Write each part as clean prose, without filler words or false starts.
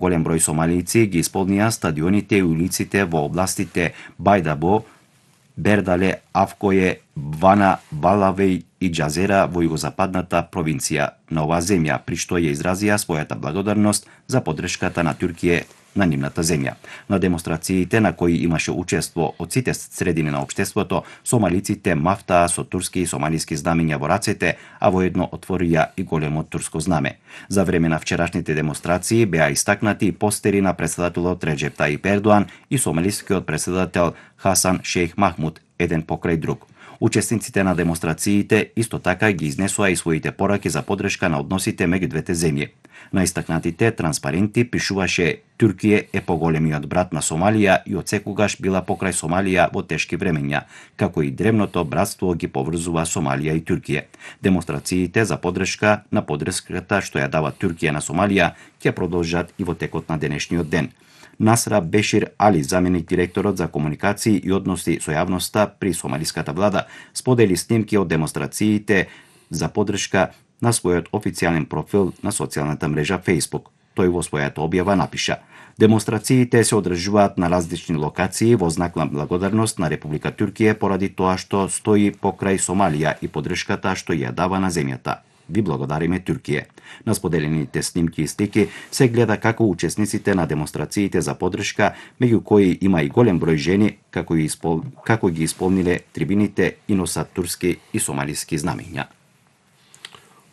Голем број сомалијци ги исполнија стадионите и улиците во областите Бајдабо, Бердале, Авкое, Вана, Балавеј и Џазера во југозападната провинција на оваа земја, при што ја изразија својата благодарност за поддршката на Туркија на нивната земја. На демонстрациите на кои имаше учество од сите средини на општеството, сомалиците мафтаа со турски и сомалиски знамења во рацете, а воедно отворија и големо турско знаме. За време на вчерашните демонстрации беа истакнати и постери на претседателот Реџеп Тајип Ердоан и сомалискиот претседател Хасан Шејх Махмуд, еден покрај друг. Учесниците на демонстрациите исто така ги изнесоа и своите пораки за поддршка на односите меѓу двете земји. На истакнатите транспаренти пишуваше Туркија е поголемиот брат на Сомалија и отсекогаш била покрај Сомалија во тешки времења, како и древното братство ги поврзува Сомалија и Туркија. Демонстрациите за поддршка на поддршката што ја дава Туркија на Сомалија ќе продолжат и во текот на денешниот ден. Насра Бешир Али, заменик директорот за комуникации и односи со јавноста при сомалиската влада, сподели снимки од демонстрациите за поддршка на својот официјален профил на социјалната мрежа Facebook. Тој во својата објава напиша: демонстрациите се одржуваат на различни локации во знак на благодарност на Република Туркија поради тоа што стои покрај Сомалија и поддршката што ја дава на земјата. Ви благодариме Туркија. На споделените снимки и слики се гледа како учесниците на демонстрациите за поддршка, меѓу кои има и голем број жени, како ги исполниле трибините и носат турски и сомалиски знамења.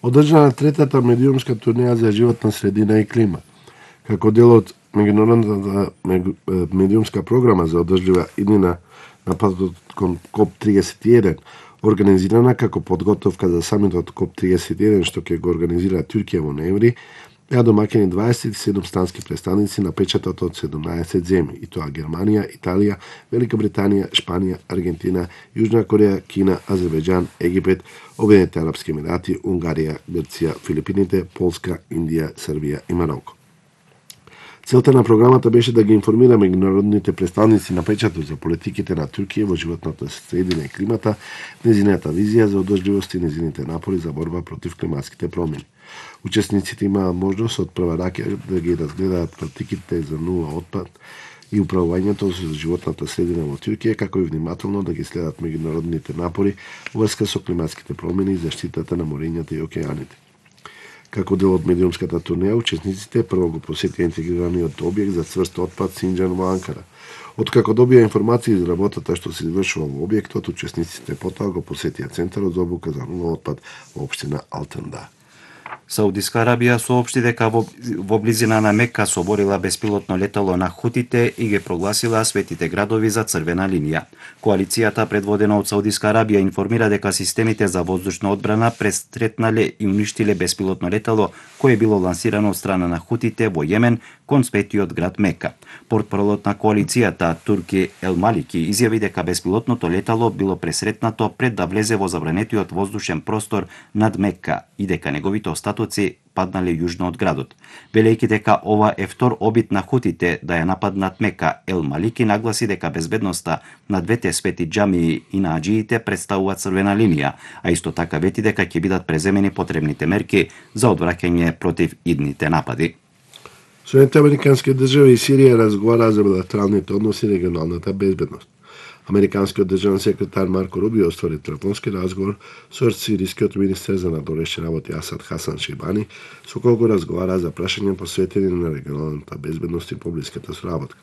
Одржана третата медиумска турнеја за животна средина и клима. Како дел од меѓународната медиумска програма за одржлива иднина на патот кон КОП-31, организирана како подготовка за самитот КОП-31 што ќе го организира Туркија во ноември, беа домаќени 27 странски представници на печатот од 17 земји, и тоа Германија, Италија, Велика Британија, Шпанија, Аргентина, Јужна Кореја, Кина, Азербејџан, Египет, Обединените арапски емирати, Унгарија, Грција, Филипините, Полска, Индија, Србија и Мароко. Целта на програмата беше да ги информира меѓународните представници на печатот за политиките на Туркија во животната средина и климата, незината визија за одржливост и незините напори за борба против климатските промени. Учесниците имаа можност од прва рака да ги разгледаат политиките за нула отпад и управувањето за животната средина во Туркија, како и внимателно да ги следат меѓународните напори во врска со климатските промени и заштитата на морењата и океаните. Како дел од медиумската турнеја, учесниците прво го посетија интегрираниот објект за цврст отпад Синџан во Анкара. Откако добија информации за работата што се извршува во објектот, учесниците потоа го посетија центарот за обука за нула отпад во општина Алтанда. Саудиска Арабија соопшти дека во близина на Мека соборила беспилотно летало на хутите и ги прогласила светите градови за црвена линија. Коалицијата предводена од Саудиска Арабија информира дека системите за воздушна одбрана престретнале и уништиле беспилотно летало кое било лансирано од страна на хутите во Јемен кон светиот град Мека. Портпаролот на коалицијата Турки Ел Малики изјави дека беспилотното летало било пресретнато пред да влезе во забранетиот воздушен простор над Мека и дека неговите остатоци паднале јужно од градот. Велејќи дека ова е втор обид на хутите да ја нападнат Мека, Ел Малики нагласи дека безбедноста на двете свети џамии и на аџиите представува црвена линија, а исто така вети дека ќе бидат преземени потребните мерки за одвраќање против идните напади. Соединените американски држави и Сирија разговараа за билатералните односи и регионалната безбедност. Американскиот државен секретар Марко Рубио оствари телефонски разговор со сирискиот министер за надворешни работи Асад Хасан Шейбани, со кој го разговараа за прашања посветени на регионалната безбедност и поблиската соработка.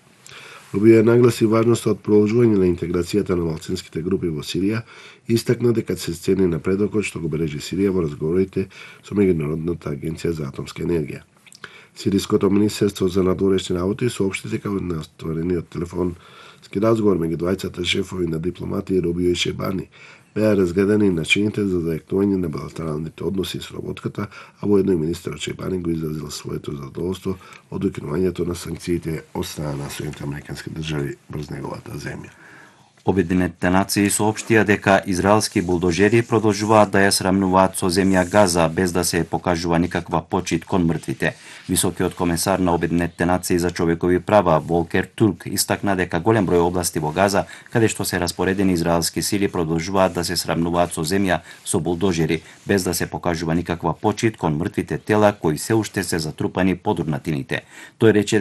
Рубио нагласи важноста од продолжување на интеграцијата на малцинските групи во Сирија и истакна дека се цени напредокот што го бележи Сирија во разговорите со Меѓународната агенција за атомска енергија. Сириското министерство за надворешни работи соопшти дека на остварениот телефонски разговор меѓу двајцата шефови на дипломати Рубио и Шебани беа разгледани начините за зајакнување на билатералните односи и соработката, а воедно и министерот Шебани го изразил своето задоволство од укинувањето на санкциите од страна на Соединените американски држави врз неговата земја. Обединетите нации соопштија дека израелски булдожери продолжуваат да ја срамнуваат со земја Газа без да се покажува никаква почит кон мртвите. Високиот комесар на Обединетите нации за човекови права Волкер Турк истакна дека голем број области во Газа каде што се распоредени израелски сили продолжуваат да се срамнуваат со земја со булдожери без да се покажува никаква почит кон мртвите тела кои се уште се затрупани под урнатините. Тој рече